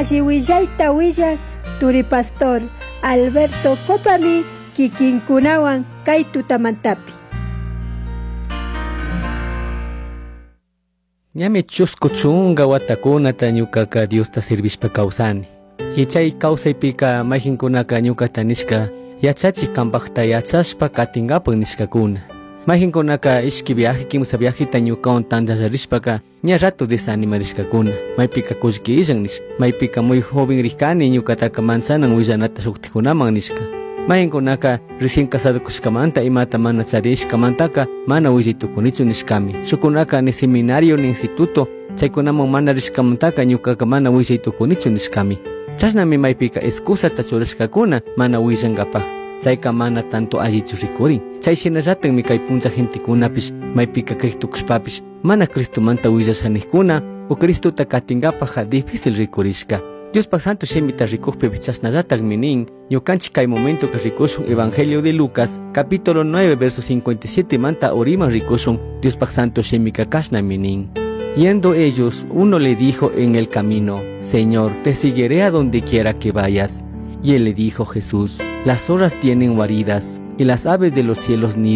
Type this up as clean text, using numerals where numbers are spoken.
Alli willayta willak turi pastor Alberto Copami kikinkunawan kay tutamantapi. Ñami chusku chunka watakunata ñukaka Diosta servishpa kawsani. Y chay kawsaypika mayqinkunaka ñukata nishka yachachik kampaqta yachashpa katinkapak nishkakuna. Mayqinkunaka ishki viaje kimsa viajeta ñukawan tantallarishpaka ña rato desanimarishkakuna. Maypika kullki illan nishka. Maypika muy joven rikani ñukataka manchanan willanata shuktikunaman nishka. Mayqinkunaka recién casado kushkamanta imata mana charishkamantaka mana willay tukunichu nishkami. Shukunaka ni seminario ni instituto chaykunaman mana rishkamantaka ñukaka mana willay tukunichu nishkami. Chashnami maypika excusata churashkakuna mana willankapaq. Chayka mana tanto allichu rikurin. Chay shinallatakmi kay punlla gentekunapish maypika kristukushpapish mana Cristomanta willashanikuna o Cristota katinkapajqa difícil rikurishka. Diospaq santo shimita rikukpipish chashnallatakmi nin ñukanchik kay momentoka rikushun Evangelio de Lucas capítulo 9 verso 57 manta uriman rikushun Diospaq santo shimika kashnami nin. Yendo ellos, uno le dijo en el camino: Señor, te seguiré a donde quiera que vayas. Y él le dijo Jesús: Las zorras tienen guaridas y las aves de los cielos nidos.